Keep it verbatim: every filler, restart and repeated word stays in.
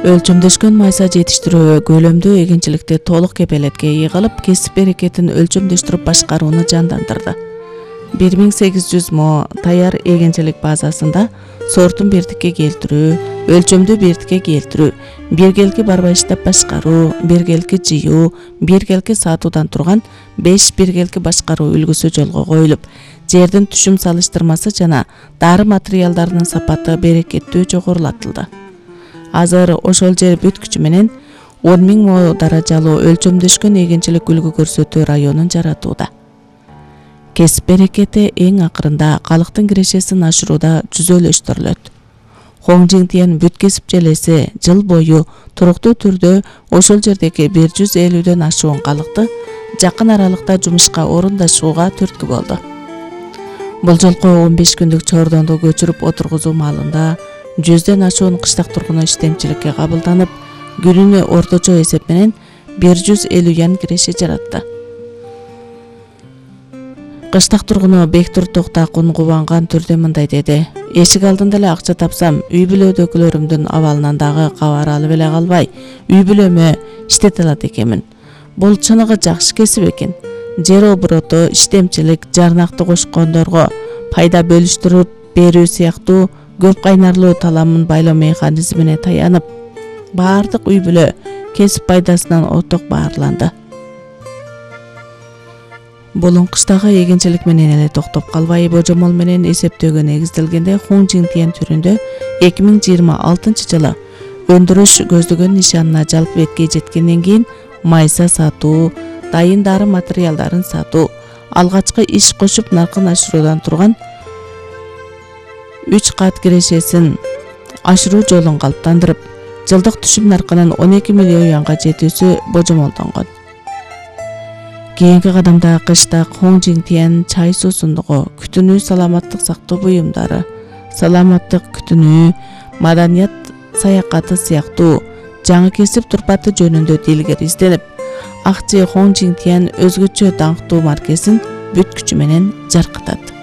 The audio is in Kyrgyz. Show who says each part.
Speaker 1: Өлчөмдөшкөн майса жетиштирүү көлөмдүү эгинчиликти толук кепелетке ээ кылып, кесип берекетин өлчөмдөштүрүп башкарууну жандандырды. бир миң сегиз жүз мо таяр эгинчилик базасында сортун бирдикке келтирүү, өлчөмдү бирдикке келтирүү, биргелки барбайыштап башкаруу, биргелки жыйуу, биргелки сатуудан турган беш биргелки башкаруу үлгүсү жолго коюлуп, жердин түшүм салыштырмасы жана дары материалдарынын сапаты берекеттүү жогорулатылды. Азыр ошол жер бүт күчү менен он миң мо даражалуу өлчөмдөшкөн эгинчилик үлгү көрсөтүү районун жаратууда. Кесип берекети эң акырында калктын кирешесин ашырууда жүзөлөштүрүлөт. Хоң Жиңтиен бүт кесип желеси жыл бою туруктуу түрдө ошол жердеги бир жүз элүүдөн ашуун калкты жакын аралыкта жумушка орундашууга түрткү болду. Бул жолку он беш күндүк чордонду көчүрүп отургузуу маалында жүздөн ашуун кыштак тургуну иштемчиликке кабылданып, күнүнө орточо эсеп менен бир жүз элүү ян киреше жаратты. Кыштак тургуну Бектур Токтакун кубанган түрдө мындай деди: "Эшик алдында эле акча тапсам, үй бүлөдөгүлөрүмдүн абалынан дагы кабар алып эле калбай, үй бүлөмө иштете алат экенмин. Бул чыныгы жакшы кесип экен. Жер обороту, иштемчилик, жарнакты кошкондорго пайда бөлүштүрүп берүү сыяктуу көп кайнарлуу таламын байлоо механизмине таянып, баардык үй бүлө кесип пайдасынан оток баарланды." Бул кыштагы эгинчилик менен эле токтоп калбай, божомол менен эсептөөгө негизделгенде Хоң Жиңтиен түрүндө эки миң жыйырма алтынчы жылы өндүрүш көздөгөн нишанына жалпы бетке жеткенден кийин майса сатуу, дайын дары материалдарын сатуу, алгачкы иш кошуп наркын ашыруудан турган үч кат кирешесин ашыруу жолун калыптандырып, жылдык түшүм наркынын он эки миллион юанга жетүүсү божомолдонгон. Кийинки кадамда кыштак Хоң Жиңтиен чай суусундугу, күтүнүү саламаттык сактоо буюмдары, саламаттык күтүнүү, маданият саякаты сыяктуу жаңы кесип турпаты жөнүндө дилгер изденип, Акчы Хоң Жиңтиен өзгөчө даңктуу маркесин бүт күчү менен жаркытат.